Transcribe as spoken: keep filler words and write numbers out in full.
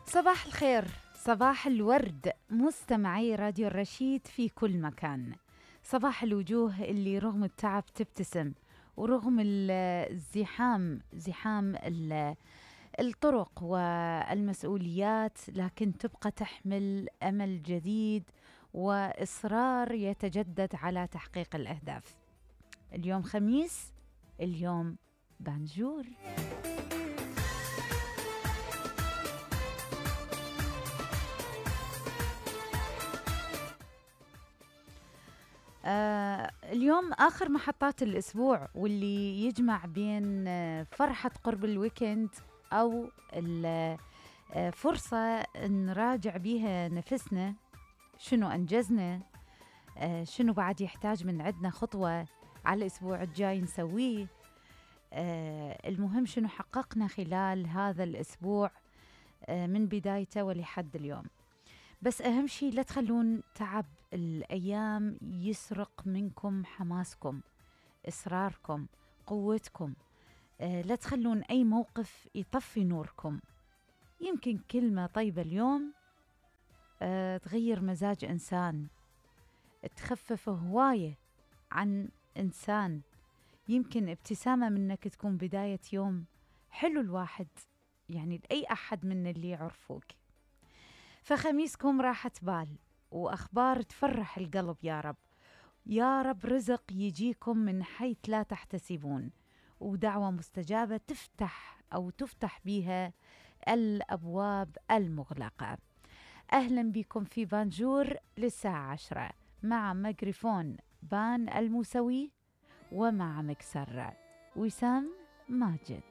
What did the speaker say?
صباح الخير، صباح الورد، مستمعي راديو الرشيد في كل مكان. صباح الوجوه اللي رغم التعب تبتسم، ورغم الزحام زحام الطرق والمسؤوليات، لكن تبقى تحمل أمل جديد وإصرار يتجدد على تحقيق الأهداف. اليوم خميس، اليوم بانجور. آه اليوم آخر محطات الأسبوع، واللي يجمع بين آه فرحة قرب الويكند أو آه فرصة نراجع بيها نفسنا، شنو أنجزنا، آه شنو بعد يحتاج من عندنا خطوة على الأسبوع الجاي نسويه. آه المهم شنو حققنا خلال هذا الأسبوع آه من بدايته ولحد اليوم. بس أهم شيء لا تخلون تعب الأيام يسرق منكم حماسكم، إصراركم، قوتكم. آه لا تخلون أي موقف يطفي نوركم. يمكن كلمة طيبة اليوم آه تغير مزاج إنسان، تخفف هواية عن إنسان. يمكن ابتسامة منك تكون بداية يوم حلو الواحد، يعني لأي أحد من اللي يعرفوك. فخميسكم راحة بال وأخبار تفرح القلب يا رب. يا رب رزق يجيكم من حيث لا تحتسبون، ودعوة مستجابة تفتح أو تفتح بها الأبواب المغلقة. أهلا بكم في بانجور للساعة عشرة، مع ميكروفون بان الموسوي، ومع مكسر وسام ماجد.